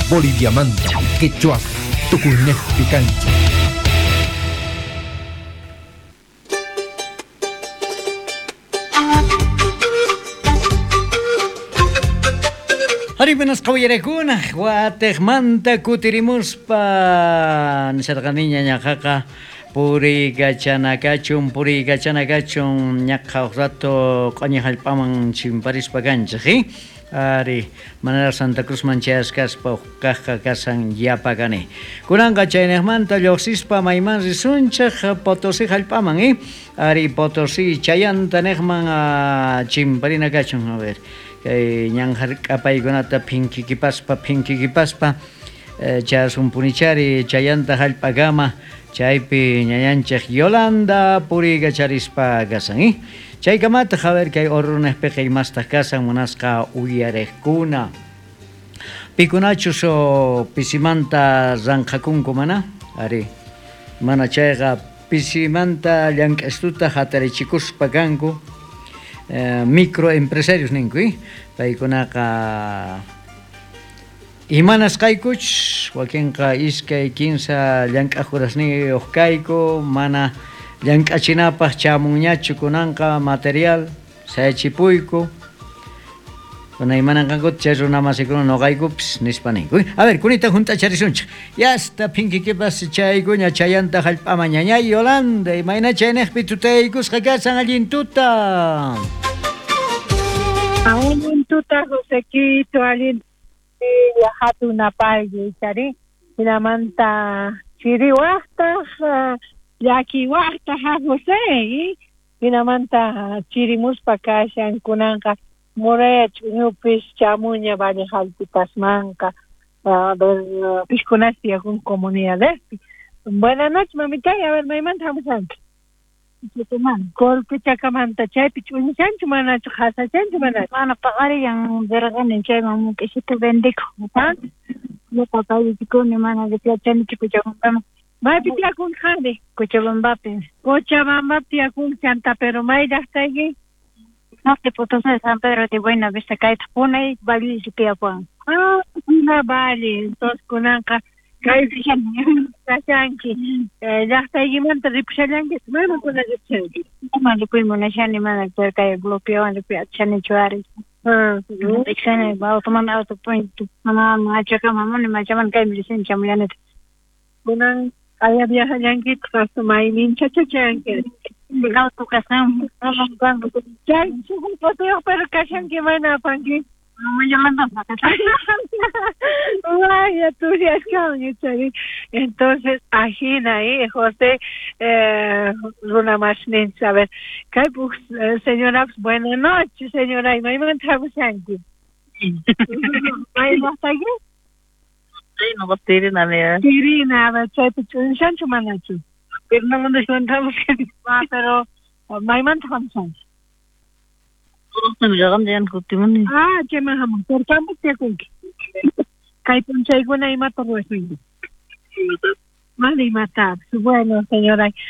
Boliviamanta, quechuas, tukuynejpi kanchej. Ari, buenas qawiyarakuna, watejmanta kutirimuspa nisharqaniña ñaqaqa puriykachanakachun, puriykachanakachun ñaqa huk rato q'oñi hallp'aman chimparispa kanchej, eh? Ari, manaraq Santa Cruzman chayasqaspa huk kaqqa kashan yapakani. Kunanqa chaynejmanta lloqsispa mayman risunchej Potosí hallp'aman, eh? Ari, Potosí chayanta neqman chimparina kachun, a ver. Kay ñan hark'apaykunata phinkikipaspa phinkikipaspa chayasunpunichari chayanta hallp'akama chaypi ñañanchej Yolanda puriykacharispa kasan, eh? Chaykamataq, a ver, kay Orrunejpiqa imastaq kasan munasqa uyarejkuna. Pikunachus pisimanta ranqhakunku mana? Ari, mana chayqa pisimanta llank'astuta hatarichikuspa kanku microempresarios ninku, eh? Paykunaqa imanasqaykuchus wakinqa iskay kinsa llank'aj horasniyuq kayku mana llank'achinapaq chamunñachu kunanqa material sayachipuyku kuna imananqankuta chay runa masikuna noqaykupis nispa ninku. A ver, kunita hunt'acharisunchik. Yasta phinkikipas chaykuña chayanta hallp'aman ñañay Yolanda, imayna chayneqpi tutayaykusqa kasan allin tuta. Allin tuta, Josequito, allin hatun apayki, ichari. Hinamanta chiriwaqtaq, llakiwaqtaq, ha José, hinamanta chirimuspa kashan kunanqa Muraya ch'uñupis chamuña Valle Jaltitasmanqa, a ver, pishkunas tiyakun comunidadespi. Buenas noches, mamita, a ver, maymanta hamushanki? Colquechakamanta chaypi ch'uñushanchu manachu qhasachanchu manachu? Mana paqarillan rirqani chayman muk'isita vendikuq. Ñuqa paychikuni mana yachanichu Cochabambaman. Maypi tiyakunki qanri? Cochabambapi. Cochabambapi tiyakunki chanta, pero may llaqtayki? Norte Potosí, San Pedro de Buena Vista, kayta Punay Valle tiyapuwan. Ah, Puna Valle, entonces kunanqa kaypi kashanki. Llaqtaykimanta ripushallanki, mana kuna ripushanki? Mana ripuy munashani, mana pero kay bloqueowan ripuy atishanichu ari. Rikshani, automanta auto punto, mana machakama, mana machaman kaymi rishani chamullanita. Kunan aya viajallankitaq hasta mayninchacha chayanki. Auto kasqan, Chay shuqun pero kashanki mana apanki. Vaya, tú ya chari. Entonces, ajina, José, runa masnin, a ver, kay señora, buenas noches, señora, y maymanta hamushanki. Maymantaki? No, Tirina, mira. Tirina, a ver, chaypi ch'unishanchu manachu? Tirina hamushanki. Ah, pero maymanta hamushanki. Ah, chayman hamun. Pero qampas tiyakunki. Kay p'unchaykuna imata ruwashanki? Mana imatapis. Bueno, señora.